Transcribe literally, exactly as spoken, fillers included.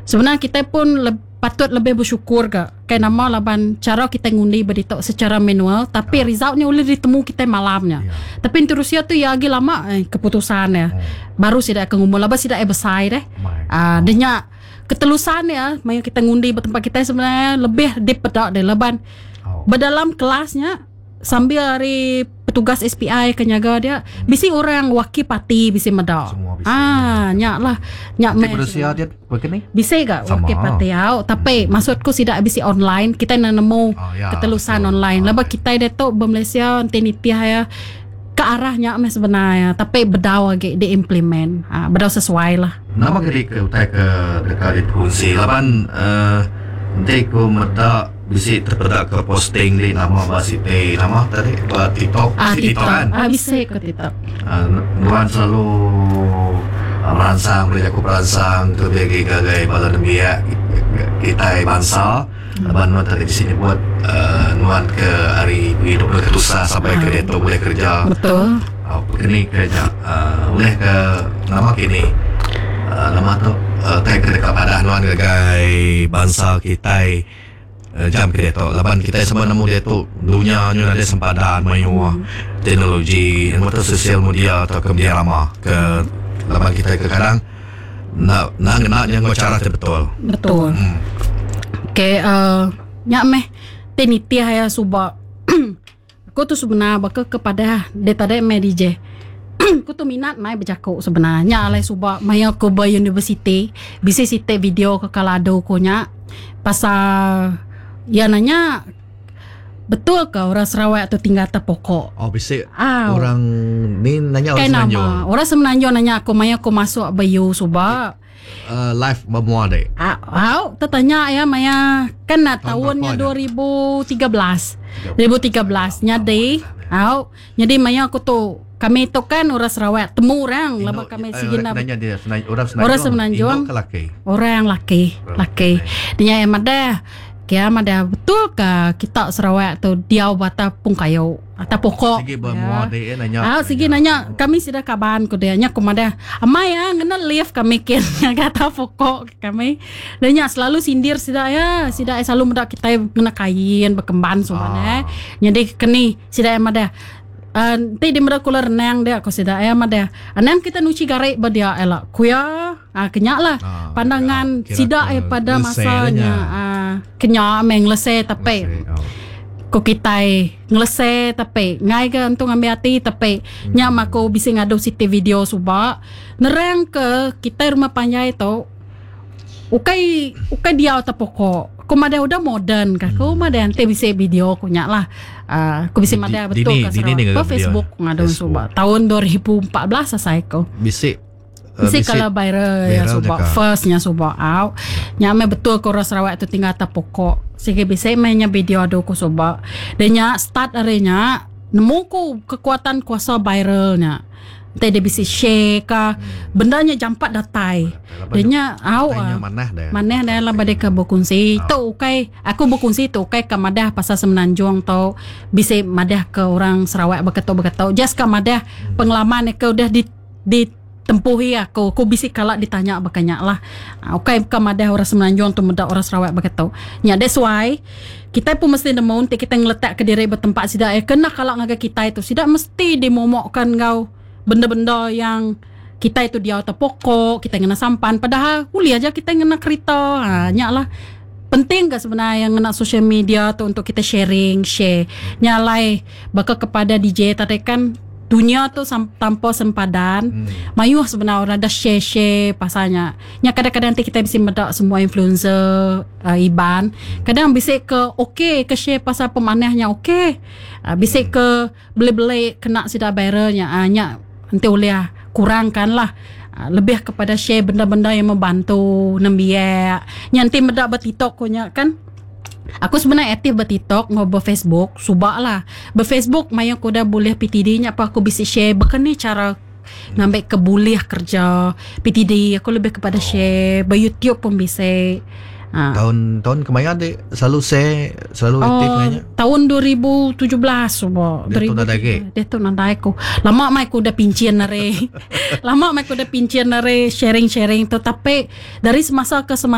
Sebenarnya kita pun le- patut lebih bersyukur ke. Kai nama laban cara kita ngundi berita secara manual, tapi resultnya boleh ditemu kita malamnya. Ya. Tapi di Rusia tu ya lagi lama eh, keputusan ya. Baru sidak ke ngumul laban sidak eh besar deh. Mai. Ah, dia nya ketelusan ya, maya kita ngundi bertempat kita sebenarnya lebih dipedak deh laban Oh. berdalam kelasnya sambil hari petugas S P I ke nyaga dia bisi orang wakil parti bisi meda. Semua bisi. Ah, nyak lah. Nyak Di meh. Rusia dia begini? Bisi gak Sama. wakil parti au, tapi maksudku sidak bisi online, kita nak nemu Oh, ya, ketelusan betul. online. Ah, Lepas kita dia tu berMalaysia nanti nitiah ya ke arahnya meh sebenarnya, tapi bedau lagi diimplement. Ah, bedau sesuai lah. Nama ke ke utai ke dekat di fungsi laban uh, nanti ku meda bisi terpedak ke posting di nama ba siti nama tadi ba TikTok Ah, si TikTok TikTok. kan. Ah, bisa ke TikTok. Uh, nuan selalu uh, merangsang boleh aku merangsang lebih lagi gagai bala nembiak kita bangsa laban nuan tadi di sini buat uh, nuan ke hari hidup ke tusah sampai ke dia tu boleh kerja. Betul. Uh, begini kerja uh, boleh ke nama kini uh, nama tu uh, tak ke dekat padah nuan gagai bangsa kita uh, jam ke dia tu laban kita semua nemu dia tu dunia nyu ada sempadan mayu hmm. teknologi yang tu sosial media atau ke media lama ke laban kita ke kadang nak nak nak yang cara betul. Betul. Hmm. Okey, uh, nyak meh tenitiah ya subak. Aku tu sebenar bakal kepada dia tadi meh D J. Aku tu minat mai bercakap sebenarnya alai subak maya aku ber university bisi site video ke kalado ko nya pasal ya nanya betul ke orang Sarawak tu tinggal atas pokok. Oh bisi Ah, orang ni nanya orang Kai nama Semenanjung. orang Semenanjung nanya aku maya aku masuk bayu subak. Uh, live bermua dek. Ah, au tertanya ya maya kan nak Tahun tahunnya berapa dua ribu tiga belas. dua ribu tiga belas nyadi au jadi maya aku tu kami tu kan orang Sarawak temu orang lama kami eh, sigi orang nak nanya dia Semenanjung, orang Semenanjung. Orang Semenanjung. Induk ke laki? Orang laki, Orang laki. Dia yang ada kia ada betul ke kita Sarawak tu diau bata pung kayu atau pokok. Sigi bermua Ya. dek eh, nanya. Ah, sigi nanya kami sudah kaban ku dia nya kumada. Amai ya ngena live kami kin kata pokok kami. Dia nya selalu sindir sida ya, sida selalu muda kita ngena kain berkemban semua Ah. eh. Jadi keni sida yang ada. Uh, nanti dia muda kula renang dia aku sida ya mada. Anam kita nuci garik ba dia elak. Kuya ah kenyak lah Ah, pandangan kira sida ke eh pada lese masanya nya. ah kenyak meng lese tapi Lese, oh. ko kitai ngelese tapi ngai ke untung ambil hati tapi hmm. nya mako bisi ngadu siti video subak nerang ke kita rumah panjai tu ukai ukai dia ta pokok ko mada udah modern ka ko mada ante bisi video ko nya lah uh, ko bisi Di- mada di- betul dini- ka dini ni Sarawak. ngaga Ko Facebook video. ngadu Facebook. subak tahun dua ribu empat belas selesai ko Bisi uh, Bisi kalau viral ya viral subak jaka. firstnya subak out. Nya me betul ko orang Sarawak tu tinggal atas pokok. Sige bisi mainnya video adu ko subak. Dan nya start arinya nemu ko kekuatan kuasa viralnya. Nanti dia bisi share ka bendanya jampat datai. Dan nya au Tanya ah. manah dah. Maneh dah lah badai ke berkongsi. Tu ukai aku berkongsi tu ukai ke madah pasal Semenanjung tau bisa madah ke orang Sarawak berketuk-berketuk. Just ke madah pengalaman ke udah di ditempuhi aku. Aku bisik kalak ditanya berkenyak lah. Ah, ukai ke madah orang Semenanjung tu medak orang Sarawak berketuk. Nya that's why kita pun mesti nemu untuk kita ngeletak ke diri bertempat sidak eh kena kalak ngagai kita itu. Sidak mesti dimomokkan kau benda-benda yang kita itu dia atas pokok, kita ngena sampan. Padahal uli aja kita ngena kereta. Ha, nyak lah. Penting ke sebenarnya yang ngena social media tu untuk kita sharing, share. Nyalai bakal kepada D J tadi kan dunia tu sam-, tanpa sempadan. Hmm. Mayuh sebenarnya orang dah share-share pasalnya. Nya kadang-kadang nanti kita bisa medak semua influencer uh, Iban. Kadang bisa ke okey ke share pasal pemanahnya okey. Uh, bisa ke beli-beli kena sida viralnya. Uh, nya nanti boleh kurangkan lah. Uh, lebih kepada share benda-benda yang membantu nembiak. Nya nanti medak berTikTok ko nya kan. Aku sebenarnya aktif berTikTok, ngau berFacebook, subak lah. BerFacebook maya aku dah boleh P T D nya apa aku bisa share bukan ni cara ngambil ke boleh kerja P T D, aku lebih kepada share, berYouTube pun bisa. Ha. Tahun tahun kemarin dek selalu share, selalu aktif Oh, kayaknya. tahun dua ribu tujuh belas subak. Dia tu nadai ke? Dia tu nadai aku. Lama mai aku dah pincin nare. Lama mai aku dah pincin nare sharing-sharing tu, tapi dari semasa ke semasa